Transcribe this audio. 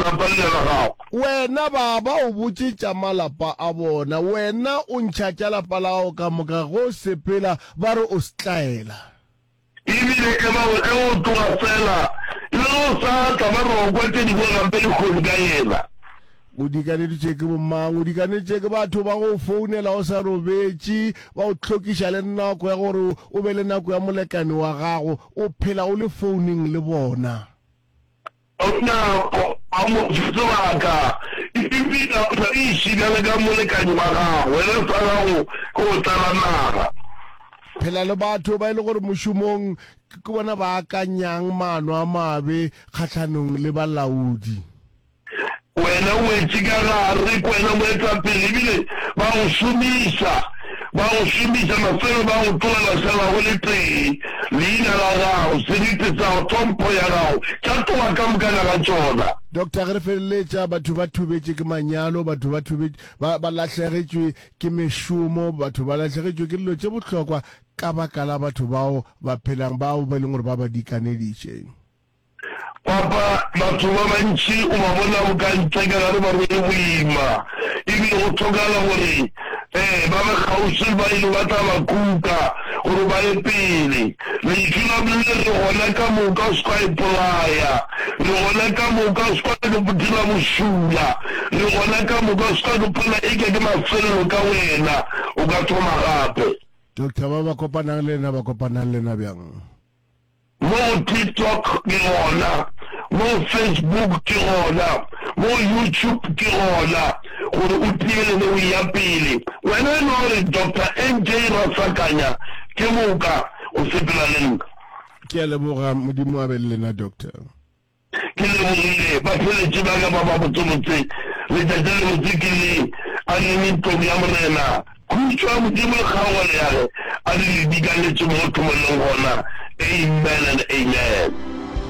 lapa lela la gago. Wena ba ba o botše tša malapa a bona, wena o ntšha tša lapa la gago ka moka, ge o sepela ba re o setlaela. Ebile e ba gore ge o tloga fela, le ge o sa tla, ba re o kwa tše dingwe gampe lehono ka yena. O dikaneditše ke bomang? O dikaneditše ke batho ba go founela o sa robetše, ba o hlokiša le nako ya gore o be le nako ya molekane wa gago, o phela o le founeng le bona. Nako a mo fe sebaka, ebile a sa iše bjale ka molekane wa gago, wena sa gago ke go tlala naga. Phela le batho ba e le gore mošomong ke bona ba akanyang maano a mabe kgahlanong le balaodi. Wena o wetše ka gare, ke wena moetapele, ebile ba go šomiša, ba go šomiša, mafelo ba go tlogela šala go le tee, leina la gago, seriti sa gago, tlhompho ya gago, tša tloga ka mokana ga tšona. Doctor, ge re feleletša, batho ba thubetše ke manyalo, batho ba thubetše, ba, ba lahlegetšwe ke mešomo, batho ba lahlegetšwe ke dilo tše bohlokwa ka baka la batho bao ba phelang, bao ba e leng gore ba ba dikaneditše. Papa, batho ba bantši o ba bona boka ntle ka gare ba rwele boima, ebile go hlokagala gore um ba be kgauswi le ba ile ba tla ba kuka gore ba ye pele. Lentšu la Modimo le re gona ka moka o se ka ipolaya, re gona ka moka o se ka dira bošula, re gona ka moka o se ka ipona eke ke mafelelo ka wena, o ka thoma gape. Doctor, ba ba kopanang le lena ba kopanang le lena bjang? Mo go TikTok ke gona, mo go Facebook ke gona, mo go YouTube ke gona, gore o tielele o eya pele. Wena e no re Doctor NJ Rasakanya ke moka o sepela le nna. Ke a leboga, Modimo a be le lena Doctor. Ke lebogile batheeletši ba ka ba babotsebotse. Letšatši le lebotse ke le a neng ntlong ya Morena. Khutšo ya Modimo le kgaogelo ya ge a di le dikanetše mo go thomoleng gona. Amen and amen.